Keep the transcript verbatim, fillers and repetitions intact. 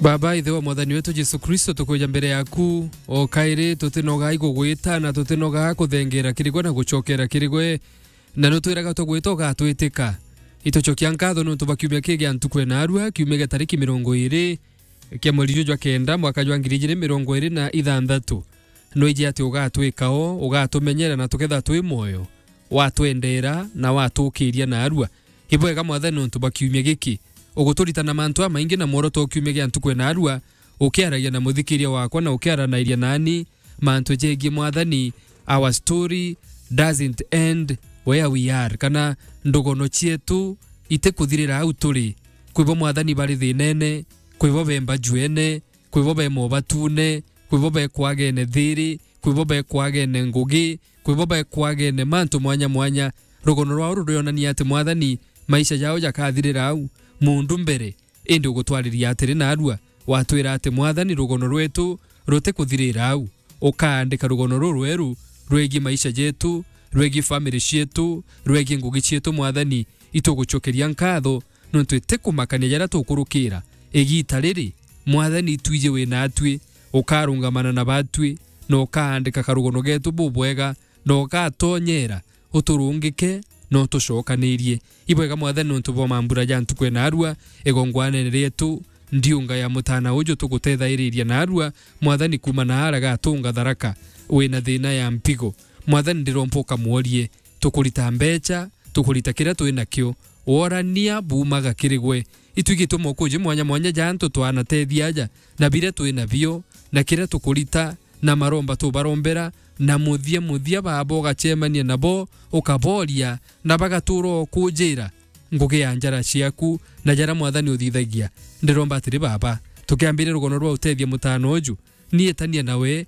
Baba, Ithe wa Mwathani wetu Jesu Kristo, tukwija mbere yaku o kairi, tutinoga igugwita na tutinoga kuthengera kiri gwe na gucokera kiri gwe, na nutwiraga tugwita ugatwitika. Itucokia nkatho nontu bwa kiumia kii gia ntuku ya naarua, kiumia gia tariki mirongo iiri kia mweri juju jwa kenda, mwaka jwa ngiri ijiri mirongo iiri na ithanthatu. Nwiji ati ugatwika o, ugatumenyera na tukethirwa twi mwoyo, watwendera na watukiria naarua. Ibwega Mwathani nontu bwa kiumia giki. Uguturitana mantu amaingi na mworoto o kiumia gia ntuku ya naarua, ukiaragia na muthikiria wakwa na ukiaranairia nani mantu jegie Mwathani, our story doesn't end where we are, kana ndugono cietu itikuthirira au turi. Kwibo Mwathani bari thinene, kwibo bemba juene, kwibo be mobatune, kwibo be kwagene thiri, kwibo be kwagene ngugi, kwibo be kwagene mantu mwanya mwanya. Rugono rwao rurionania ati Mwathani, maisha jao jakathirira au, mundu mbere, indi ugutwariria atiri naarua, watwira ati Mwathani, rugono rwetu rutikuthirira au. Ukaandika rugono rurweru rwegie maisha jetu, rwegie family cietu, rwegie ngugi cietu Mwathani, itugucokeria nkatho nontu itikumakania jaria tukurukira. Igita riri, Mwathani, itwiji wi naatui, ukarungamana na baatui, na ukaandika karugono getu bubwega, na ugatonyera uturungike na utucokanirie. Ibwega Mwathani nontu bwa mambura ja ntuku ya naarua, igongwanene rietu, ndiunga ya mutana uju tugutethairiria naarua, Mwathani, kuuma na ara gatunga Tharaka, wina thina ya mpigo. Mwathani, ndiromba ukamworie, tukurita mbecha, tukurita kiria twi nakio, worania buumaga kiri gwe. Itwigitwe mokuji mwanya mwanya ja antu twanatethia aja, na biria twi nabio, na kiria tukurita, na maromba tubarombera, na muthia muthia Baba ugacemania nabo, ukaboria, na bagatuura o kunjira ngugi ya njara ciaku, na jaria Mwathani uthithagia. Ndiromba atiri Baba, tukiambiria rugono rwa utethia mutano uju, ni itania nawe,